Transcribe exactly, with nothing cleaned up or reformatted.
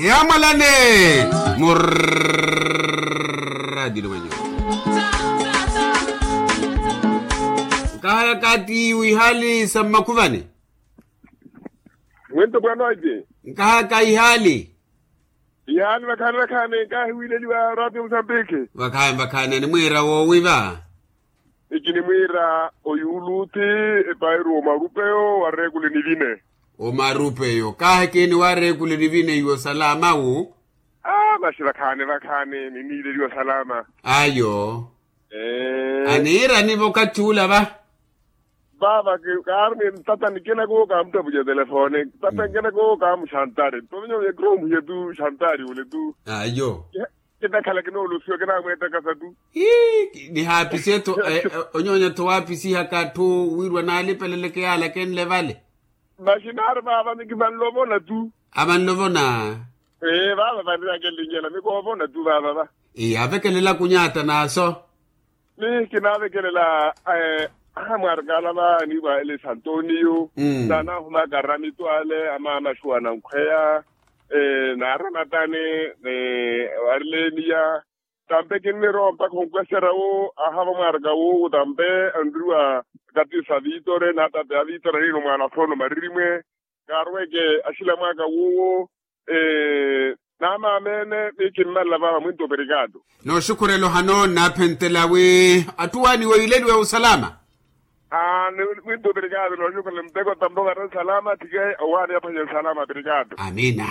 Yamwalane murradi lumanyo. Nkahaya kati wihali sa mmakhuvani. Mwento bwanoje. Nkahaya ka ihali. Ihali vakhani vakhani nkahi wileliwa radio musambiki. Vakhani vakhani animwira wowiva. Ikinimwiira oyuluti epairu omarupeyo wareekule nivine. Omarupeyo kaahekeni wareekule nivine iwo salama wu. Aa masi vakhaani vakhaani niniileliwa salama. Ayo. Aniiranivo okathi ula va. Vava kaaruni tata nikina ko kaamuttapuca telefone tata nikina ko kaamuxantari tovinyo ekiroomuhiye tu xantari ule tu. Ayo. Kinakhala kinoolusiwa kinamweetakasa tu. Ii nihaapisiye-tho. Onyonya-tho waapisihaka atthu wiiriwa naalipeleleke yaala kenle vale. Masi naari vaava niki vanlovona tu. Avanlovona. Ee vaava vanriyakenlinyela mikoovona tu vaava va. Ii avekelela kunyaata naaso. Ni kinaavekelela amwarikala va aniiwa ele santonio. Naanahumaka aramitu ale amaamaxuwa nankhweya. Naaramatani. Arileniya tampe kinnirowa mpakha onkwesera wo ahava mwaraka wowo tampe anriwa. Kati sa vitore naatape a vitore anino mwana afono maririmwe. Kaarweke axila mwaka wowo. Naamaamene ni kimmalela vava mwinto operikado. Nooxukhurela ohano nnaaphentela wi atthu waaniwe yiileliwe osalama. Mwinto operikado nooxukhurela mpeko tampe ovarani salama thike. Owaani aphwanye salama operikado. Amiina.